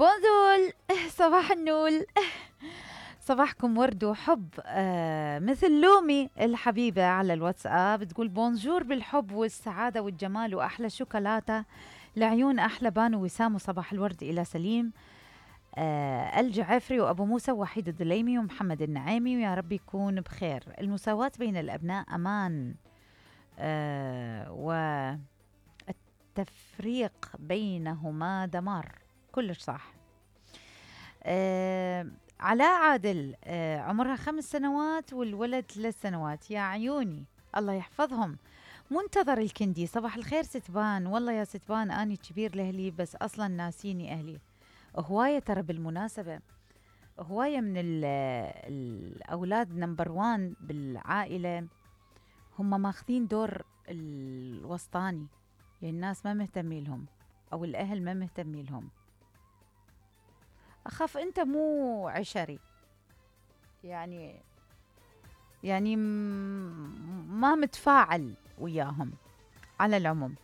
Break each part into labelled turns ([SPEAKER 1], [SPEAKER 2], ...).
[SPEAKER 1] بونجول. صباح النول. صباحكم ورد وحب، مثل لومي الحبيبة على الواتساب تقول بونجور بالحب والسعادة والجمال وأحلى شوكولاتة لعيون أحلى بانو وسام، وصباح الورد إلى سليم الجعفري وأبو موسى ووحيد الدليمي ومحمد النعيمي، ويا رب يكون بخير. المساواة بين الأبناء أمان، والتفريق بينهما دمار. كلش صح. علاء عادل، عمرها 5 سنوات والولد 3 سنوات. يا عيوني الله يحفظهم. منتظر الكندي، صباح الخير ستبان. والله يا ستبان أني كبير لأهلي بس أصلا ناسيني أهلي. هواية ترى بالمناسبة، هواية من الأولاد نمبر 1 بالعائلة هم ماخذين دور الوسطاني، يعني الناس ما مهتمين لهم أو الأهل ما مهتمين لهم. أخاف أنت مو عشري، يعني ما متفاعل وياهم. على العموم،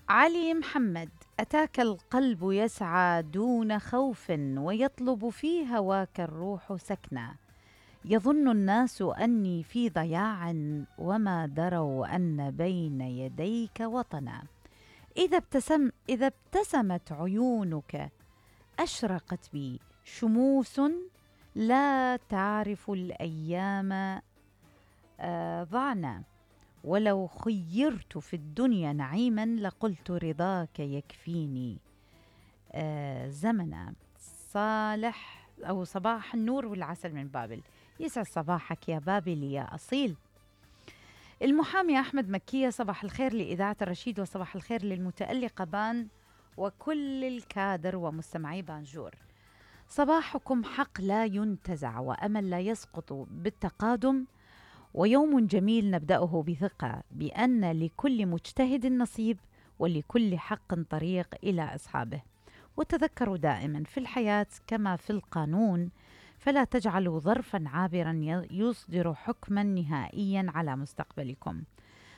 [SPEAKER 1] علي محمد، أتاك القلب يسعى دون خوف ويطلب في هواك الروح سكنا، يظن الناس أني في ضياع وما دروا أن بين يديك وطنا، إذا ابتسمت عيونك أشرقت بي شموس، لا تعرف الأيام ضعنا، ولو خيرت في الدنيا نعيما لقلت رضاك يكفيني زمنا. صالح أو صباح النور والعسل من بابل، يسعد صباحك يا بابل يا أصيل. المحامي أحمد مكية، صباح الخير لإذاعة الرشيد وصباح الخير للمتألقة بان وكل الكادر ومستمعي بانجور. صباحكم حق لا ينتزع وأمل لا يسقط بالتقادم، ويوم جميل نبدأه بثقة بأن لكل مجتهد نصيب ولكل حق طريق إلى أصحابه. وتذكروا دائما في الحياة كما في القانون، فلا تجعلوا ظرفا عابرا يصدر حكما نهائيا على مستقبلكم.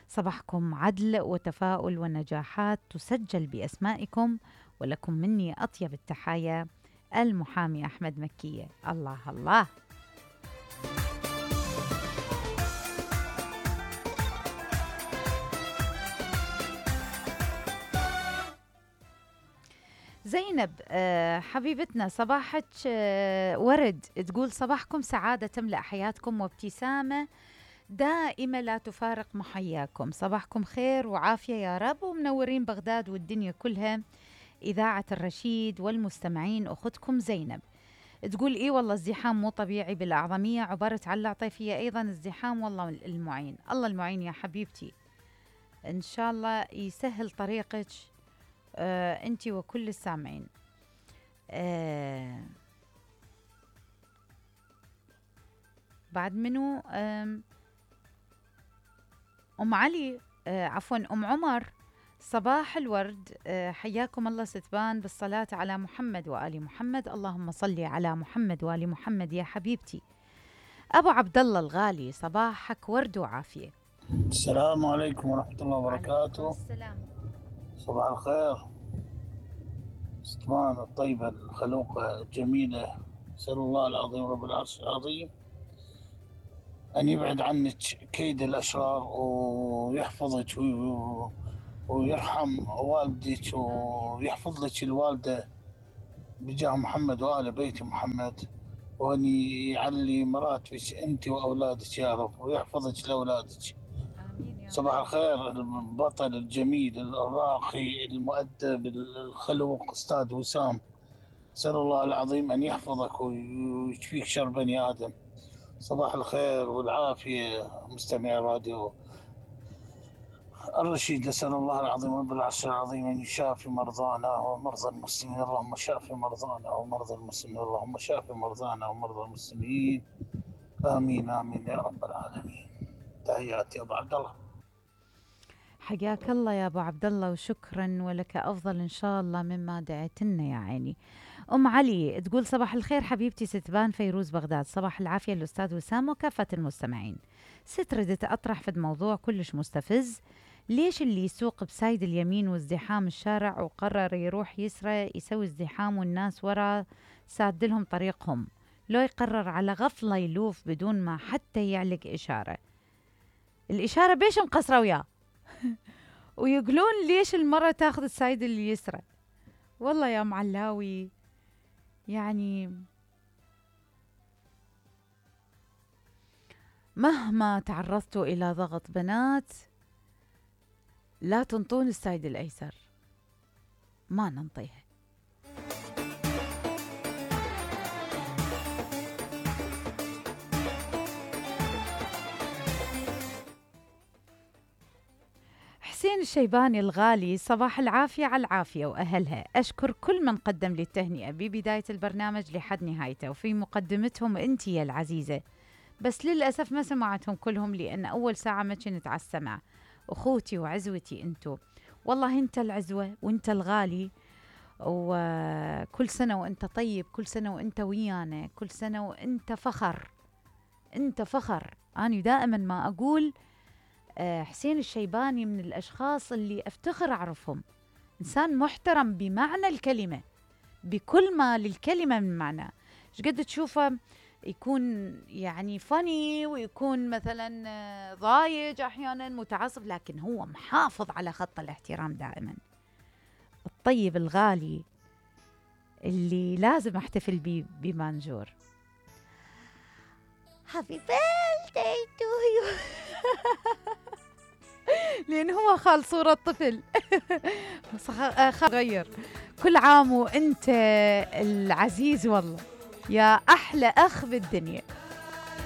[SPEAKER 1] صباحكم عدل وتفاؤل ونجاحات تسجل بأسمائكم، ولكم مني أطيب التحايا. المحامي أحمد مكية. الله الله. زينب حبيبتنا، صباحك ورد، تقول صباحكم سعادة تملأ حياتكم وابتسامة دائمة لا تفارق محياكم. صباحكم خير وعافية يا رب، ومنورين بغداد والدنيا كلها. إذاعة الرشيد والمستمعين، أختكم زينب. تقول إيه والله الزحام مو طبيعي بالأعظمية، عبرت على العطيفية أيضا الزحام، والله المعين. الله المعين يا حبيبتي، إن شاء الله يسهل طريقك أنتي وكل السامعين. بعد منو؟ أم علي، عفوا أم عمر، صباح الورد. حياكم الله ستبان بالصلاة على محمد وآل محمد، اللهم صل على محمد وآل محمد يا حبيبتي. أبو عبد الله الغالي، صباحك ورد وعافية.
[SPEAKER 2] السلام عليكم ورحمة الله وبركاته.
[SPEAKER 1] السلام.
[SPEAKER 2] صباح الخير ستبان الطيبة الخلوقة الجميلة، أسأل الله العظيم رب العرش العظيم أن يبعد عنك كيد الأشرار ويحفظك ويرحم والدك ويحفظ لك الوالدة بجاه محمد وآل بيت محمد، وأن يعلي مراتبك أنت وأولادك يا رب، ويحفظك لأولادك. صباح الخير البطل الجميل الراقي المؤدب الخلوق أستاذ وسام، أسأل الله العظيم أن يحفظك ويشفيك شر بني آدم. صباح الخير والعافية مستمعي راديو الرشيد، أسأل الله العظيم رب العرش العظيم أن يشافي مرضانا ومرضى المسلمين، اللهم شافي مرضانا ومرضى المسلمين، اللهم شافي مرضانا ومرضى المسلمين، آمين آمين يا رب العالمين. تحياتي أبو عبد الله.
[SPEAKER 1] حياك الله يا أبو عبد الله، وشكرا ولك أفضل إن شاء الله مما دعيتنا يا عيني. أم علي تقول صباح الخير حبيبتي ستبان فيروز بغداد، صباح العافية الأستاذ وسام وكافة المستمعين. ست ردت أطرح في الموضوع كلش مستفز، ليش اللي يسوق بسايد اليمين وازدحام الشارع وقرر يروح يسرى يسوي ازدحام والناس ورا سادلهم طريقهم، لو يقرر على غفلة يلوف بدون ما حتى يعلق إشارة؟ الإشارة بيش مقصرة وياه ويقولون ليش المرة تاخذ السايد اليسرى. والله يا معلاوي يعني مهما تعرضتوا إلى ضغط بنات لا تنطون السايد الأيسر، ما ننطيه. حسين الشيباني الغالي، صباح العافية على العافية وأهلها. أشكر كل من قدم لي التهنئة ببداية البرنامج لحد نهايته وفي مقدمتهم أنت يا العزيزة، بس للأسف ما سمعتهم كلهم لأن أول ساعة ما كنت على السمع. أخوتي وعزوتي أنتو، والله أنت العزوة وأنت الغالي، وكل سنة وأنت طيب، كل سنة وأنت ويانا، كل سنة وأنت فخر، أنت فخر. أنا دائما ما أقول حسين الشيباني من الأشخاص اللي أفتخر أعرفهم، إنسان محترم بمعنى الكلمة، بكل ما للكلمة من معنى. قد تشوفه يكون يعني فاني ويكون مثلا ضايج أحيانا متعصب، لكن هو محافظ على خط الاحترام دائما. الطيب الغالي اللي لازم احتفل بيه بمانجور. هابي بيرثداي تو يو لأن هو خال صورة طفل غير. كل عام وانت العزيز، والله يا أحلى أخ بالدنيا.